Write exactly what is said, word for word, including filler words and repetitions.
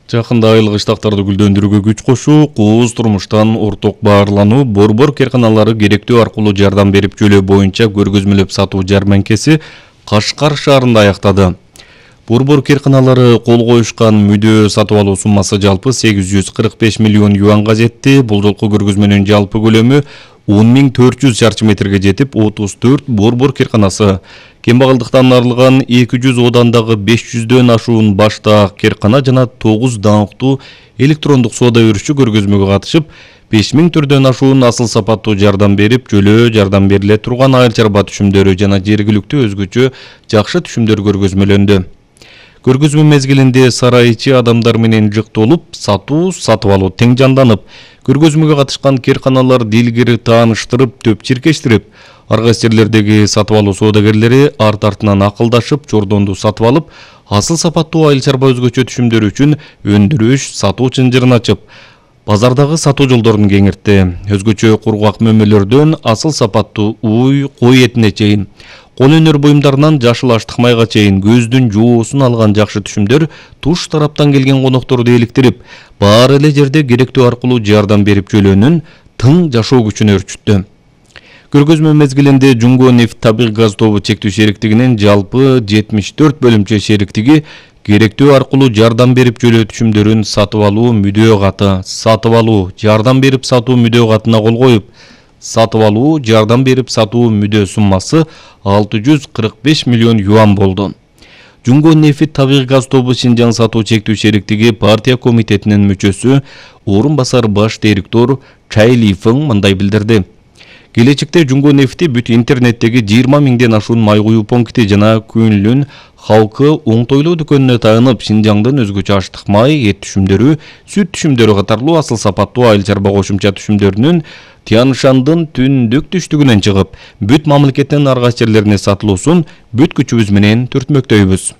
Жакында айыл кыштактарды гүлдөндүрүүгө күч кошуу, кооз турмуштан орток баарлануу, борбор керканалары керектөө аркылуу жардам берип жөлөө боюнча көргөзмөлөп сатуу жәрмеңкеси Кашкар шаарында аяктады. Борбор керканалары кол коюшкан мүдөө сатып алуу суммасы жалпы сегиз жүз кырк беш миллион юанга жетти. Бул жолку көргөзмөнүн жалпы көлөмү он миң төрт жүз чарчы метрге жетип, отуз төрт борбор керканасы, кембагалдыктан арылган эки жүз одандагы беш жүздөн ашуун баштаак керкана жана тогуз даңктуу электрондук соода өрүшчү көргөзмөгө катышып, беш миң түрдөн ашуун асыл сапаттуу жардам берип, жөлөө жардам бериле турган айыл чарба түшүмдөрү жана жергиликтүү өзгөчө жакшы түшүмдөр көргөзмөлөндү. Көргөзмө мезгилинде сарай ичи адамдар менен жыктолуп, сатуу, сатып алуу тең жанданып, көргөзмөгө катышкан керканалар дилгири тааныштырып, төп чиркештирип, ар кайсы жерлердеги сатып алуу соодагерлери арт-артынан акылдашып, чордонду сатып алып, асыл сапаттуу айыл чарба өзгөчө түшүмдөр үчүн өндүрүш, сатуу чынжырын ачып, базардагы сатуу жолдорун кеңиртти. Өзгөчө кургак мөмөлөрдөн асыл сапаттуу уй, кой этине чейин, кол өнөр буюмдарынан жашыл аштык майга чейин көздүн жоосун алган жакшы түшүмдөр туш тараптан келген конокторду эликтирип, баары эле жерде керектөө аркылуу жардам берип жөлөөнүн тың жашоо күчүн өрчүттү. Көргөзмө мезгилинде Жумго нефть табигый газ тобу чектүү шериктигинин жалпы жетимиш төрт бөлүмчө шериктиги керектөө аркылуу жардам берип жөлөө түшүмдөрүн сатып алуу мүдөө каты, сатып алуу, жардам берип сатуу мүдөө катына кол коюп, сатып алуу, жардам берип сатуу мүдөө суммасы алты жүз кырк беш миллион юан болду. Жумго нефть табигый газ тобу Шинжаң сатуу чектүү шериктиги партия комитетинин мүчөсү, орун басар баш директор Чай Лифeng мындай билдирди. Келечекте Жумго нефти бүт интернеттеги жыйырма миңден ашуун май куюу пункти жана Күнлүн халкы оңтойлуу дүкөнүнө таянып, Шинжаңдын өзгөчө аштык май, эт түшүмдөрү, сүт түшүмдөрү катарлуу асыл сапаттуу айыл чарба кошумча түшүмдөрүнүн Тянь-Шандын түндүк түштүгүнөн чыгып, бүт мамлекеттин ар кайсы жерлерине сатылуусун бүт күчүбүз менен түртмөктөйбүз.